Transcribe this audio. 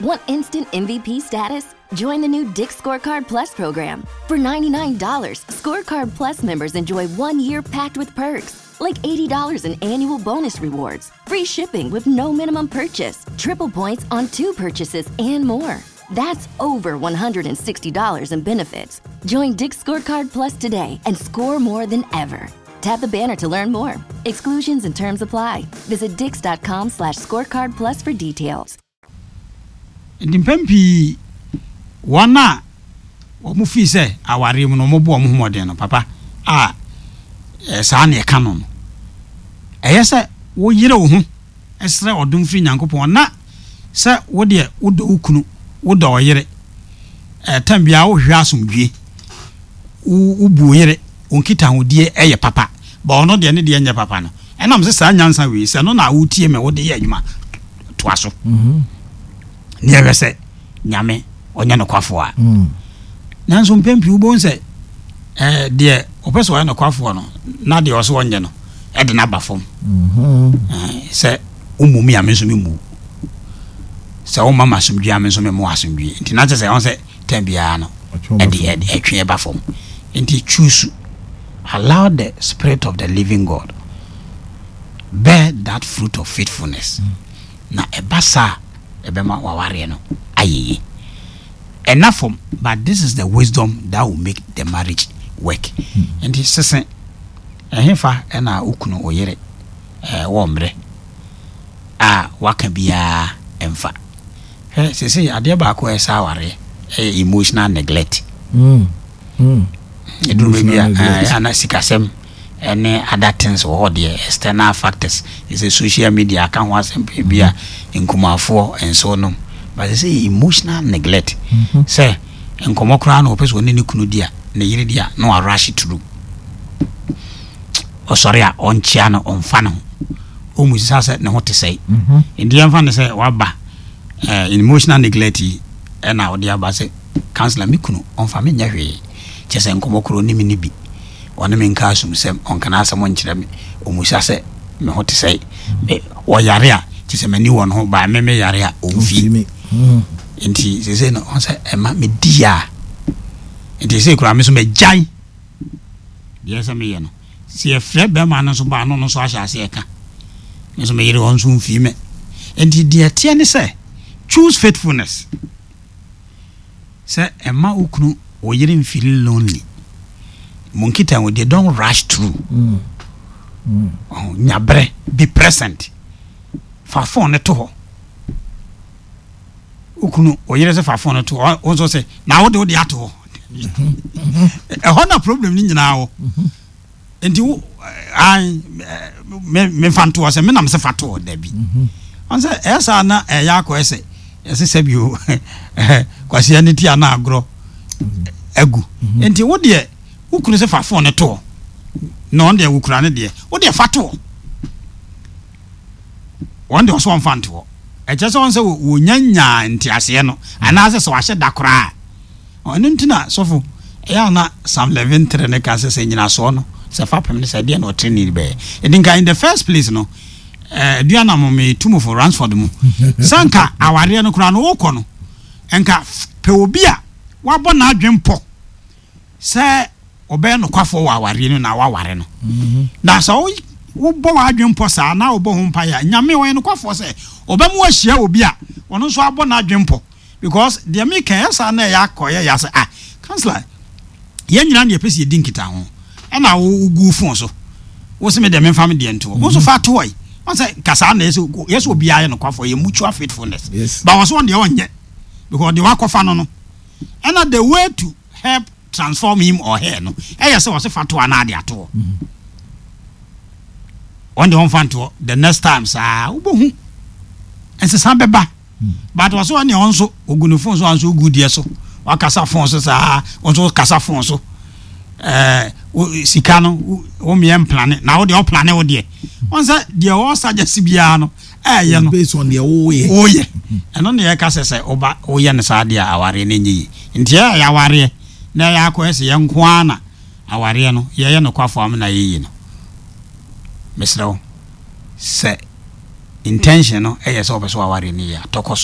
Want instant MVP status? Join the new Dick's Scorecard Plus program. For $99, Scorecard Plus members enjoy 1 year packed with perks, like $80 in annual bonus rewards, free shipping with no minimum purchase, triple points on two purchases, and more. That's over $160 in benefits. Join Dick's Scorecard Plus today and score more than ever. Tap the banner to learn more. Exclusions and terms apply. Visit dicks.com/scorecardplus for details. Nti mpɛn pii wɔn a wɔn fii sɛ awareɛ mu no, wɔn bɔ wɔn ho mmɔden no papa a saa na ɛka no, ɛyɛ sɛ woyere wo ho ɛsrɛ ɔdom firi Nyankopɔn na sɛ wo deɛ wodɔ wo kunu, wodɔ wo yere, tam biara wohwehwɛ asomdwie, wobu wo yere, wo nkitahodie ɛyɛ papa ba, ɔno deɛ ne deɛ nyɛ papa no, ɛnam sɛ saa nyansa wei sɛ no na wotie me, wode yɛ adwuma toa so ne ɛhwɛ sɛ Nyame ɔnyɛ nokwafoɔ a. Nanso mpɛn pii wobɛhu sɛ deɛ ɔpɛ sɛ ɔyɛ nokwafoɔ no na deɛ ɔsɛ ɔnyɛ no ɛde no aba fam sɛ wommu me a, me nso memmu, sɛ woma ma asomdwie a, me nso memmo asomdwie. Nti na kyerɛ sɛ ɛho sɛ tɛn biara no ɛde ɛtwe ɛba fam. Nti choose, allow the spirit of the living God bear that fruit of faithfulness na ɛba saa, ɛbɛma wawareɛ no ayɛ yie. Ɛna fam, but this is the wisdom that will make the marriage work. Nti sese ɛhefa ɛna okunu, wo yere wɔ mmerɛ a waka biara ɛmfa hwɛ sese adeɛ baako a ɛsɛ awareɛ ɛyɛ emotional neglect. Ɛduru baabi a ana sikasɛm ɛne other things wɔ hɔ deɛ, external factors ɛsɛ social media aka ho asɛm pɛ bi a nkumafoɔ nso nom, but sɛ emotional neglect sɛ nkɔmmɔ koraa na ɔpɛ sɛ ɔne ne kunu di a, ne yere di a, na warush through. Ɔsɔre a, ɔnkyea no, ɔmfa ne ho, ɔmu sisa sɛ ne ho te sɛe. Nti yɛmfa ne sɛ waba emotional neglect yi ɛna ɔde aba sɛ, "Counselor, me kunu ɔmfa me nyɛ hwee, kyɛ sɛ nkɔmmɔ koro ɔne me ne bi, ɔne me nka asomsɛm, ɔnka n'asɛm nkyerɛ me, ɔmusa sɛ me ho te sɛe. Ɔyare a, kyɛ sɛ m'ani wɔ ne ho baa me me yare a, ɔmfii me." Nti sese no ɔn sɛ ɛma medi a, nti sese koraa me so magyae deɛ sɛ meyɛ no. Sɛ yɛfrɛ bɛrima no nso baa no nso ahyɛ ase ɛka me nso meyere ɔn nso mfii me. Nti deɛ teɛ ne sɛ choose faithfulness sɛ ɛma wo kunu, wo yere mfeel lonely. Mo nkita wo deɛ, don't rush through. Ɔho nyabrɛ, be present, fa phone no to hɔ. Wo kunu, wo yere sɛ fa phone no to hɔ, wo nso sɛ na wode ato hɔ. Ɛhɔ na problem no nyinaa wɔ. Nti wo an me memfa nto hɔ sɛ menam sɛ fa to hɔ dabi. Ɔn sɛ ɛyɛ saa na ɛyɛ akɔɛ sɛ yɛsɛ sɛ bio kwasia ne ti ana agorɔ agu. Nti wo deɛ, wo kunu sɛ fa phone no to hɔ na ɔn deɛ wokura ne deɛ, wo deɛ fa to hɔ. Wɔn deɛ ɔsɛ ɔmfa nto hɔ, ɛkyɛ sɛ ɔn sɛ wɔnya nyaa nteaseɛ no anaasɛ sɛ wahyɛ da koraa. Ɔno nti na sɔfo ɛyɛ ana Psalm 11:3 ne ka sɛ nyinasoɔ no sɛ fapem no sɛ ɛdeɛ na ɔtene bɛyɛ. Ɛdi nka in the first place no, aduana mo metu mo fo Ransford mu sɛ nka awareɛ no koraa no wokɔ no, nka pɛ obi a wabɔ n'adwen pɔ sɛ ɔbɛyɛ nokwafoɔ wɔ awareɛ no na waware no. Na sɛ wobɔ w'adwen pɔ saa na wobɔ ho mpaeɛ a, Nyame ɔyɛ nokwafoɔ sɛ ɔbɛma wahyia obi a ɔno nso abɔ n'adwen pɔ, because deɛ meka ɛyɛ saa na ɛyɛ akɔyɛ yɛ sɛ, "Ah, counselor, yɛn nyinaa ne yɛpɛ sɛ yɛdi nkita ho ɛna wogu phone so, wo sɛ me deɛ memfa me deɛ ntoɔ, wo nso fa toɔ yi." Wɔn sɛ kasaa na yɛsɛ obiara yɛ nokwafoɔ, yɛ mutual faithfulness. But wɔn so wɔn deɛ ɔnyɛ because deɛ wakɔfa no ɛna the way to help transform him or her no ɛyɛ sɛ wɔsɛ fa toɔ anaa de atoɔ. Wɔn deɛ wɔmfa ntoɔ, the next time saa wobɛhu nsesa bɛba. But wɔsɛ wɔn deɛ wɔn nso ogu ne phone so, wɔn nso ogu deɛ so, wakasa phone so saa, wɔn nso kasa phone so. Sika no wo mmea mplan na wo deɛ ɔplan wo deɛ wɔn sɛ deɛ ɔsuggest biara no ɛɛyɛ no based on deɛ woyɛ. Woyɛ ɛno na yɛka sɛ woba woyɛ no saa deɛ, awareɛ no nyɛ yie. Nti ɛyɛ awareɛ na ɛyɛ akɔ ɛsɛ yɛn nko ara na awareɛ no yɛyɛ nokwafo ama na yɛyie no. Mesrɛ wo sɛ intention no ɛyɛ sɛ wɔpɛ sɛ wawareɛ no yie a, tɔkɔ so.